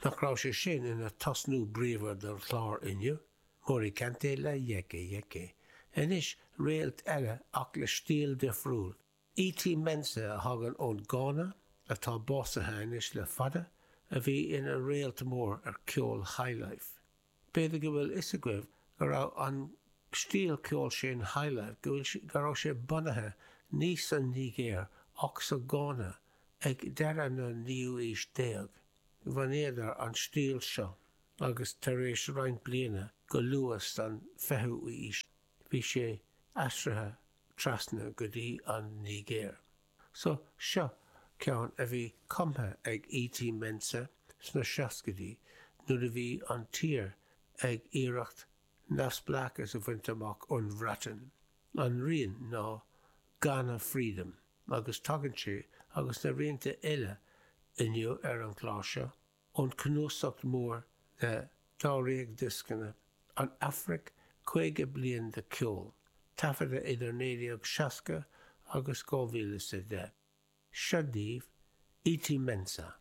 Nach raibh sé sin ina tosnú bríomhar don chlár inniu? Mory Kanté le Yeke Yeke. Anois réalt eile ach le stíl difriúil. E.T. Mensah a thagann ón Gána, atá básaithe anois le fada, a bhí ina réalt mór ar ceol highlife. B'fhéidir go bhfuil fhios agaibh go raibh an stíl ceoil sin highlife, go bhfuil, go raibh sé bunaithe ní san Nigéir ach sa Ghána ag deireadh na naoú aois déag. Bhunaíodar an stíl seo agus tar éis roinnt bliana go luath san fichiú aois bhí sé aistrithe trasna go dtí an Nigéir. So, seo ceann a bhí cumtha ag E.T. Mensah sna seascaidí nuair a bhí an tír ag iarracht neamhspleáchas a bhaint amach ón Bhreatain. An rian ná Ghana Freedom agus tagann sé, agus na rianta eile inniu ar an chlár seo, ón cnuasacht mór de dáréag dioscanna, An Afraic, 50 bliain de cheol, taifeadta idir 1960 agus 2010. Seo daoibh E.T. Mensah.